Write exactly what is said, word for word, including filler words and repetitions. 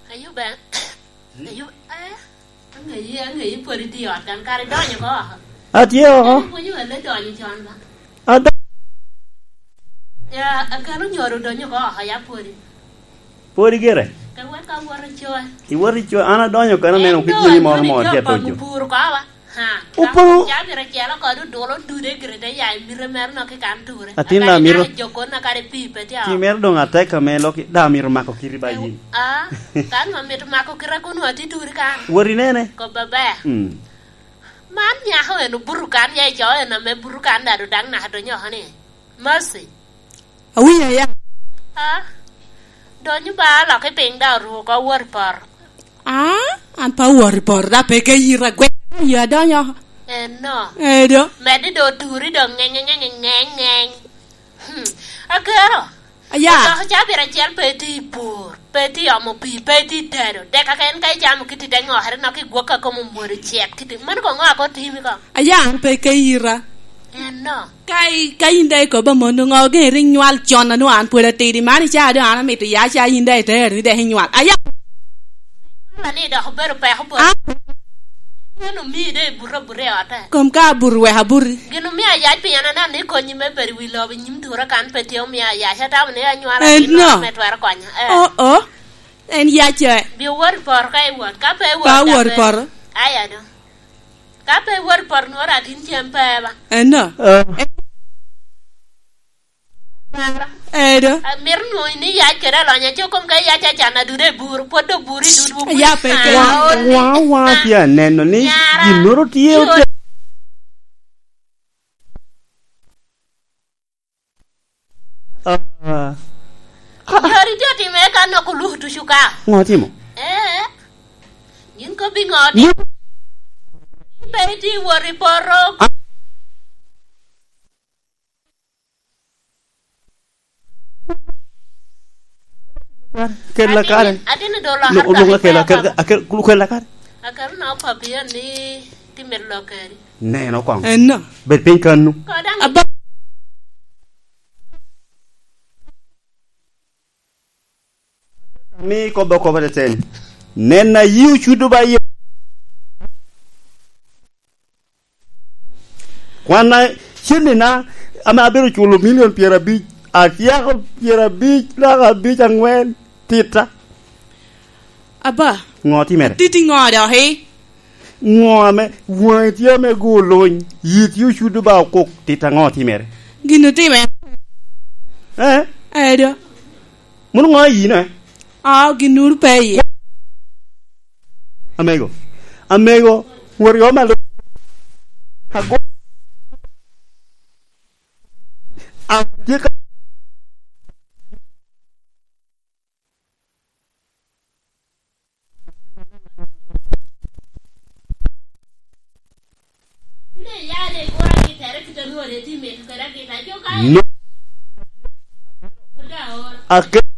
Ayube, Ayube, eh, aŋeyi, aŋeyi pwod itye i ot kan, kara idonyo oko oko? Atye oko. Kara ipwonyo wele donyo con ba? Ado- Ya, akelo nyoro donyo oko oko, ya pwodi. Pwodi gire? Ka wek ka wot i coc. Iwot i coc, an adonyo kano neno kit yeni moro moro tye atoco. Puro ko ba? Ha, Opo. Ka ca bira celo kod odulo dude gire te ya i mite mere nok i kan ture. Atin da mito. Jokon na kare pi pe tye. Ti mere doŋ atek ame lok da mito mako kiri ba yin. Ah, kan ma mito mako kira kun wa ti turi kan. Wori nene. Ko baba. Mm. Man nyako en obuto kan ya i co en ame buto kan da do daŋ naka donyo ni. Mercy. Awinyo aya. Ah, donyo ba lok i piny da oruko wot i poto. Ah, an pe awot i poto, da pe ka yita gwek, yo adonyo oko. Eno. Edo. Medde do oturi do ngeny, ngeny, ngeny, ngeny. Hmm. Akero. Aya. Odoko ca bira acel pe iti i pur, pe iti omo pi, pe iti tedo. Dek aka en ka icamo kiti te ngokere nok i gwok a kom omwodo cek kiti. Mano ko ngo ako timi ko? Aya, an pe ka yita. Eno. Ka i-, ka yin daŋ ikobo amono, ŋo geŋ rik nywal con a nwoŋo an pwod atidi? Man icaa doŋ an amito ya ca yin daŋ itero ni dek inywal. Aya! Ni dok obedo peko bot. Ah? En omii doŋ ibuto abuta i ote. Kom ka abuto wek abuti. Gin omio ayac piny an aneno ni konyi me bedo i wi lobo i nyim tura kan pe tye omio ayac. Atamo ni anywala. Eh, gin no. Me twero konya. Eh. Oh, oh. En yac, eh. Bi owot i poto ka iwot. Ka pe iwot, pa ka wot i pe poto. Aya do. Ka pe iwot i poto, nworo atin cem pe ba. Eno. Ah. Edo. Amito nwoŋo ni yac kede alony aco kom ka yac acan adudo i bur, pwod dok bur i dudwu. Ya pe ke. Ah, wa, wa, wa, tye aneno ni nyara, ginnoro tye ote-, Ah. Yori tye otimere ka nok oluto ducu ka. Ŋo timo? Eh. Gin kobbi ŋo ni? Ni pe iti wot i poto. Ah. Kela kare. Atin, atin do lokere. Lo-, lo-, kare kela, kela, kela, kela kare. Akelo na papi en ni timito lokere. Neno koŋ. Eno. Bed piny kannu. Koda. Aba- Mi kobbe okobo teteni. Nen a yi ocudo ba yi. Kwanna cennina ame abedo culo milion pyerabic, atyeko pyerabic naka abic aŋwen, tita. Aba. Ŋo timere? Titi ŋo doki? Ŋo ame waŋi tye ame go olony, yi tye ocudo ba okok, tita ŋo timere? Gin otimere. Eh? Edo. Mano ŋo ayino, eh? Oo, ginnoro pe iye. Amego. Amego, wot i ot malo. Ago-, atye ka No. Ake-,